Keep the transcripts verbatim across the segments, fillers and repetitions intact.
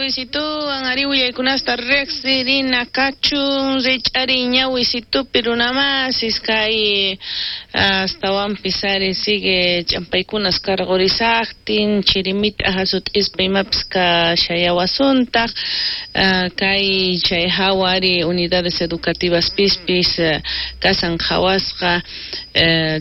Luisituwan ari willaykunasta riqsirina kachun rich'ari ñawisitupi runamasis kay astawanpis ari sigue ch'ampaykunas karqurisaqtin chirimita hasut'ispa imapis kashayawasuntaq kay chay hawa ari unidades educativas pispis kasan qhawasqa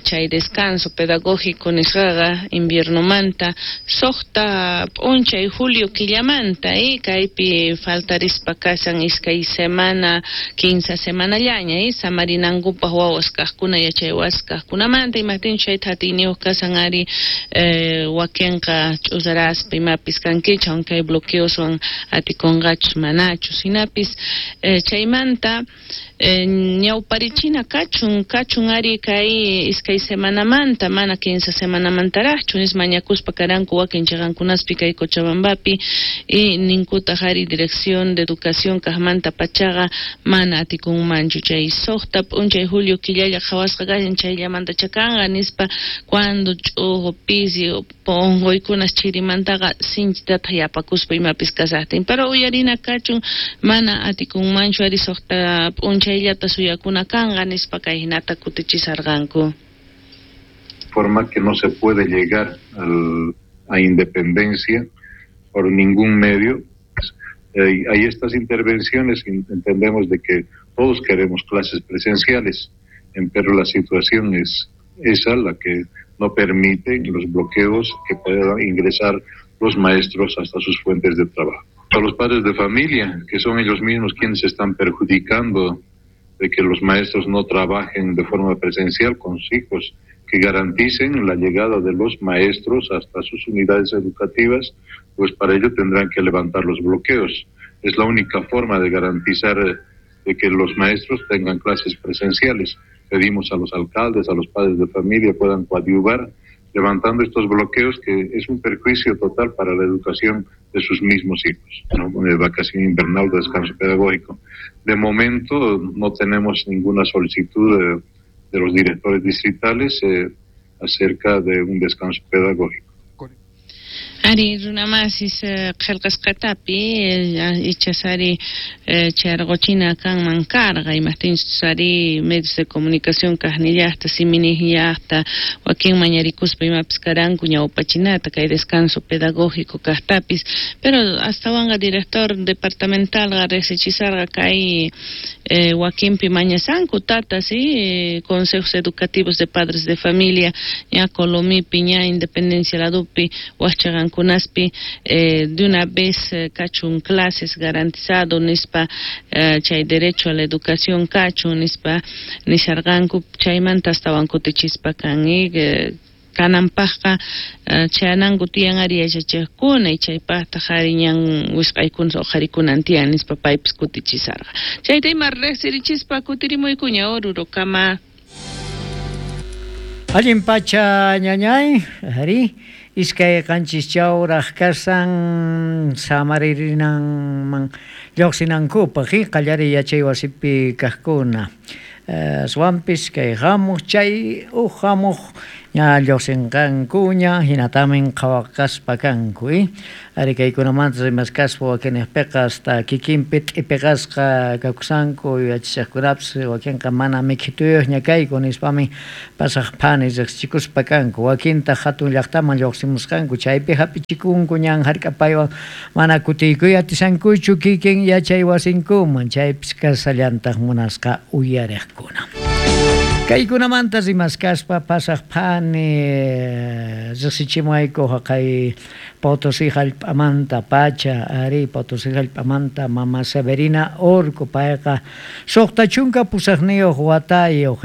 chay descanso pedagógico nisqaqa inviernomanta suqta p'unchay julio killamanta eh, kaypi faltarispa kasan iskay semana kinsa semanallaña eh, samarinankupaq wawas kaqkuna yachay wasis kaqkunamanta imaqtinchus chayta atiyniyuq kasan ari eh, wakinqa ch'usaraspa imapis kankichu aunque hay bloqueoswan atikunqachus manachus hinapis eh, chaymanta eh, ñawparichina kachun kachun ari kay iskay semanamanta mana kinsa semanamantaraqchu nis mañakuspa karanku wakin chiqankunaspi kay Cochabambapi y ninkutaq ari dirección de educación kaqmanta pachaqa mana atikunmanchu chay suqta p'unchay julio killalla qhawasqa kashan chayllamanta chakanqa nispa cuando ch'uqu pisi unquykunas chirimantaqa sinchitataq yapakuspa imapis kasaqtin pero uyarina kachun mana atikunmanchu ari suqta p'unchayllata suyakuna kanqa nispa kay hinata kutichisarqanku. Forma que no se puede llegar al, a independencia por ningún medio. Eh, hay estas intervenciones, entendemos de que todos queremos clases presenciales, pero la situación es esa, la que no permite los bloqueos que puedan ingresar los maestros hasta sus fuentes de trabajo. A los padres de familia, que son ellos mismos quienes se están perjudicando de que los maestros no trabajen de forma presencial con sus hijos, que garanticen la llegada de los maestros hasta sus unidades educativas, pues para ello tendrán que levantar los bloqueos. Es la única forma de garantizar de que los maestros tengan clases presenciales. Pedimos a los alcaldes, a los padres de familia puedan coadyuvar levantando estos bloqueos, que es un perjuicio total para la educación de sus mismos hijos, ¿no? De vacación invernal, de descanso pedagógico. De momento no tenemos ninguna solicitud de, de los directores distritales eh, acerca de un descanso pedagógico. Ari runamasis qillqasqatapi ichas ari charquchina kanman karqa imaqtinchus ari medios de comunicación kaqnillaqta siminiqllaqta wakin mañarikuspa imapis karanku ñawpachinata kay descanso pedagógico kaqtapis pero astawanqa director departamentalqa riqsichisarqa kay eh, wakinpi mañasanku tatas eh, consejos educativos de padres de familia ña Colomipi ña Independencia ladupi waqchaqanku kunaspi eh, de una vez eh, kachun clases garantizado nispa eh, chay derecho a la educación kachun nispa nisharqanku chaymanta astawan kutichispa kan eh, kananpaqqa chayananku tiyan ari yachachiqkuna y chaypaqtaq ari ñan wisq'aykuna uqharikunan tiyan nispa paypis kutichisarqa chayta ima riqsirichispa kutirimuykuña Orurokama. Allin pacha ñañay, ari iskay qanchis chawraq kasan samaririnan lluqsinankupaq qallariy yachay wasipi kaqkuna aswanpis kay hamuq chay uq hamuq ña lluqsinqankuña hinatamin qhawaqaspa kanku ari kaykunamanta rimaskaspa wakinniqpiqa hasta kikinpi t'ipiqasqa kakusanku yachachaqkunapis wakinqa mana mikhituyuqña kayku nispami pasaq phani riqsichikuspa kanku wakintaq hatun llaqtaman lluqsimusqanku chaypi hapichikunku ñan hark'apaywan mana kutiykuy atisankuchu kikin yachay wasinkuman chaypis kasallantaq munasqa uyariqkuna. Kaykunamanta rimaskaspa pasaq phani riqsichimuayku haqay Potosí hallp'amanta pacha ari Potosí hallp'amanta mama Severina Orco payqa suqta chunka pusaqniyuq watayuq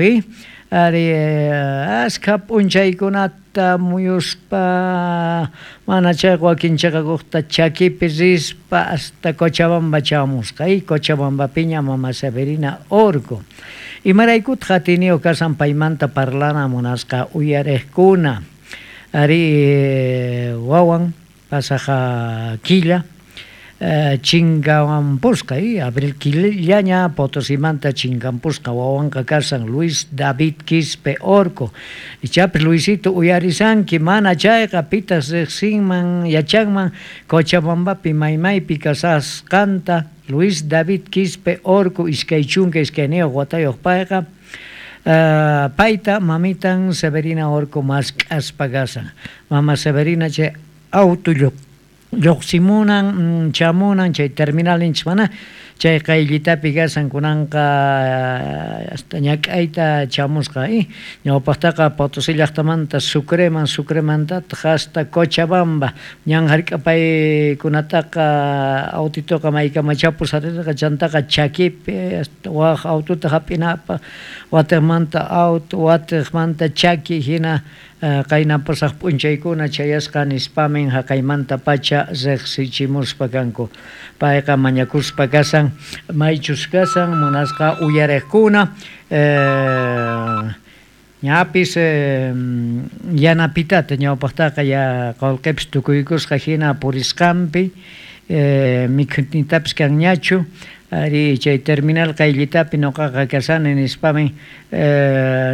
ari askha p'unchaykunata muyuspa mana chayqa wakin chiqakuqta chakipi rispa hasta Cochabamba chamusqa y Cochabambapiña mama Severina Orco. Imaraykutaq atiniyuq kasan paymanta parlana munasqa uyariqkuna ari wawan pasaqa killa Chingampusqa y abril killaña Potosimanta chingampusqa wawanqa kasan Luis David Quispe Orco. Ichapis Luisito uyarisanki mana chayqa pitas riqsinman yachanman Cochabambapi maymaypi kasasqanta Luis David Quispe Orco iskay chunka iskayniyuq watayuq payqa Uh, payta mamitan Severina Orco mask'aspa kasan. Mama Severina chay auto lluqsimunan chamunan chay terminal ninchik mana chay qayllitapi kasan kunanqa hasta ñak'ayta chamusqa y ñawpaqtaqa Potosí llaqtamanta Sucreman, Sucremantataq hasta Cochabamba ñan hark'apaykunataqa autitoqa maykama chapus atirqa chantaqa chakipi hasta waq aututa hap'inapaq watiqmanta auto watiqmanta chaki hina qayna pasaq p'unchaykuna chayasqa nispamin haqaymanta pacha riqsichimuspa kanku. Payqa mañakuspa kasan maychus kasan munasqa uyariqkuna ñapis yanapitata ñawpaqtaqa ya qullqipis tukuykusqa hina purisqanpi mikhunitapis kanñachu ari chay terminal qayllitapi nuqaqa kasani nispamin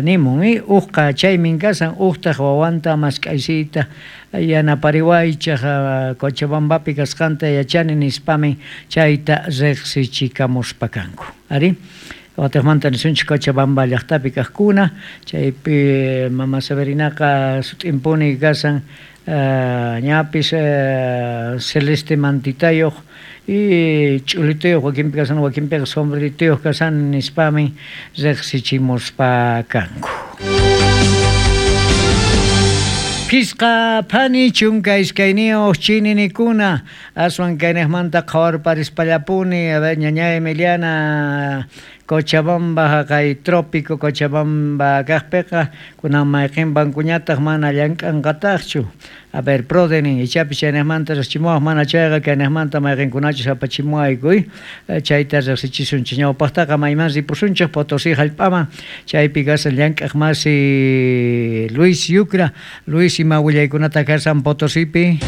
nimun uqqa chaymin kasan uqtaq wawanta mask'aysiyta yanapariwaychaq Cochabambapi kasqanta yachani nispamin chayta riqsichikamuspa kanku. Ari watiqmanta nisunchik Cochabamba llaqtapi kaqkuna chaypi mama Severinaqa sut'impuni kasan ñapis celeste mantitayuq y ch'ulituyuq wakinpi kasan wakinpiqa sombrerituyuq kasan nispamin riqsichimuspa kanku. Pisqa phani chunka iskayniyuq chininikuna aswan kayniqmanta qhawarparispallapuni a ver ñaña Emiliana Cochabamba haqay trópico Cochabamba kaqpiqa kunan mayqin bankuñataq mana llank'anqataqchu. A ver, Prodenin, ichapis chayniqmanta riqsichimuwaq mana chayqa kayniqmanta mayqinkunachus apachimuwayku chayta riqsichisunchik. Ñawpaqtaqa mayman ripusunchik Potosí hallp'aman chaypi kasan llank'aq masi Luis Yucra. Luis, ima willaykunata kasan Potosipi?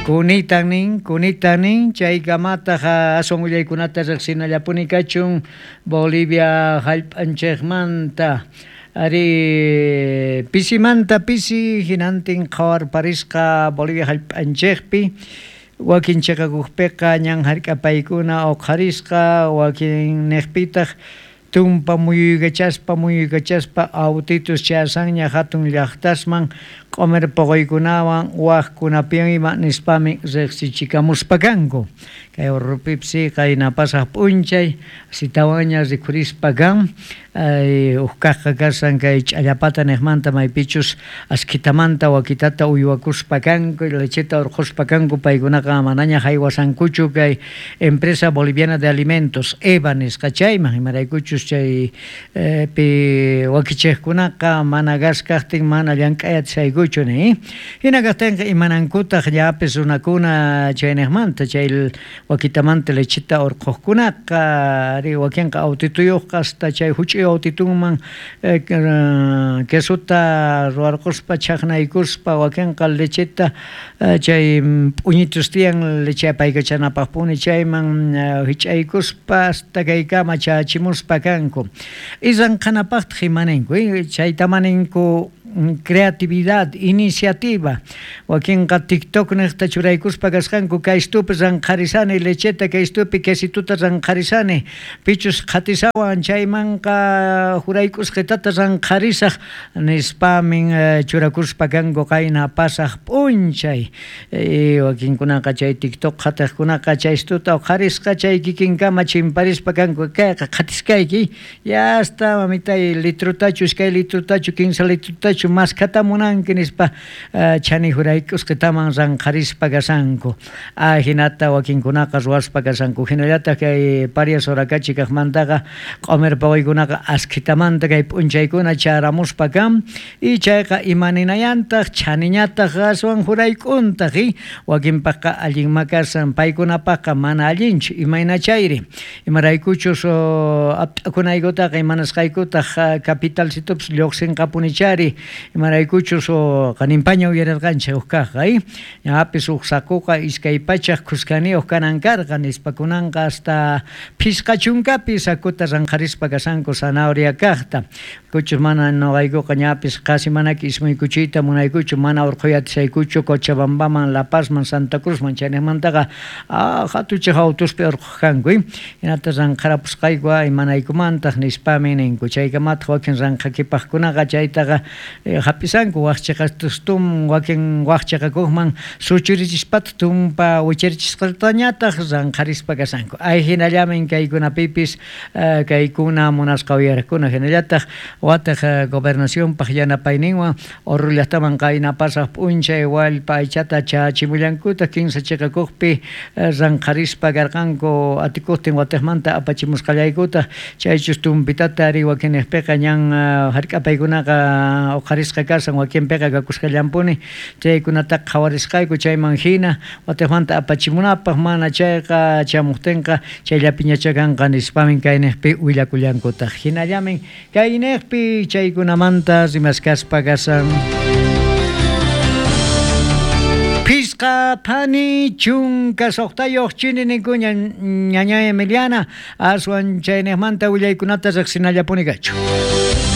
Kunitan nin, kunitan nin, chaykamataq aswan willaykunata riqsinallapuni kachun Bolivia hallp'anchikmanta. Ari pisimanta pisi hinantin qhawarparisqa Bolivia hallp'anchikpi wakin chiqakuqpiqa ñan hark'apaykuna uqharisqa wakin niqpitaq tumpa muyuykachaspa muyuykachaspa autitus chasanña hatun llaqtasman q'umir puquykunawan waqkunapiwan ima nispami riqsichikamuspa kanku. Kay urrupipsi qayna pasaq p'unchay sitawanña rikhurispa kan uj kaqqa kasan kay ch'allapata niqmanta maypichus askitamanta wakitata uywakuspa kanku lecheta urqhuspa kanku paykunaqa manaña haywasankuchu kay Empresa Boliviana de Alimentos EVA nisqa chayman imaraykuchus chay pi wakichiqkunaqa mana gas kaqtin mana llank'ay atisaykuchu ni. Hina kaqtinqa imanankutaq llapis runakuna chayniqmanta chay wakitamanta lecheta urqhuqkunaqa ari wakinqa autituyuqqa hasta chay huch'uy autitunman quesota ruwarquspa chaqnaykuspa wakinqa lecheta chay p'uñitus tiyan leche apaykachanapaqpuni chayman hich'aykuspa hasta kaykama chachimuspa kanku. Isanqanapaqtaq imaninku chayta maninku creatividad, iniciativa. Wakinqa TikTok niqta churaykuspa kasqanku kaystupi ranqharisani lecheta kaystupi quesituta ranqharisani pichus qhatisawan chaymanqa juraykusqitata ranqharisaq nispamin churakuspa kanku qayna pasaq p'unchay. Wakinkunaqa chay TikTok qhatiqkunaqa chaystuta uqharisqa chay kikinkama chimparispa kanku kayqa qhatiskayki ya hasta mamitay litrutachu iskay litrutachu kinsa litrutachu Imaraykuchu maskhata munanki nispa chani jurayk'usqitaman ranqharispa kashanku. Ajinata wakinkunaqa ruwaspa kashanku. Hinallataq kay Paria Sorakachi kaqmantaqa q'umir pawaykunaqa askhitamanta kay p'unchaykuna charamuspa kan y chayqa imaninayantaq chaniñataq aswan jurayk'untaq y wakinpaqqa allinma kasan paykunapaqqa mana allinchu imayna chayri imaraykuchus apt'akunaykutaqa imanasqaykutaq capitalcitupis lluqsinqapunichari imaraykuchus qaninpaña uyarirqanchik huk kaqqa y ñapis huk sakuqa iskay pachaq khuskaniyuq kanan karqa nispa kunanqa hasta phisqa chunkapi sakuta ranqharispa kasanku zanahoria kaqta kuchus mana noqaykuqa ñapis qasi manaki ismuykuchiyta munaykuchu mana urqhuyatisaykuchu Cochabambaman La Pazman Santa Cruzman chayniqmantaqa hatuchaq autuspi urqhuq kanku hinata ranqharapusqayku imanaykumantaq nispami ninku chaykamataq wakin ranqhakipaqkunaqa chaytaqa hap'isanku waqchiqastustum wakin waqchiqakuqman suchurichispataq tumpa wicharichisqatañataq ranqharispa kasanku ay hinallamin kaykunapipis kaykuna munasqa uyariqkuna hinallataq wataq gobernacionpaq yanapayninwan Oruro llaqtaman qayna pasaq p'unchay wallpa aychata chachimullankutaq kinsa chiqakuqpi ranqharispa karqanku atikuqtin watiqmanta apachimusqallaykutaq chaychus tumpitata ari wakinniqpiqa ñan hark'apaykunaqa uqharisqa kasan wakinpiqa kakusqallanpuni chaykunataqa qhawarisqayku chayman hina watiqmanta apachimunapaq mana chayqa chamuqtinqa chayllapiñacha kanqa nispamin kayniqpi willakullankutaq hinallamin kayniqpi chaykunamanta rimaskaspa kasan. Phisqa phani chunka suqtayuq chini ninkuña ñaña Emiliana aswan chayniqmanta willaykunata riqsinallapuni kachu.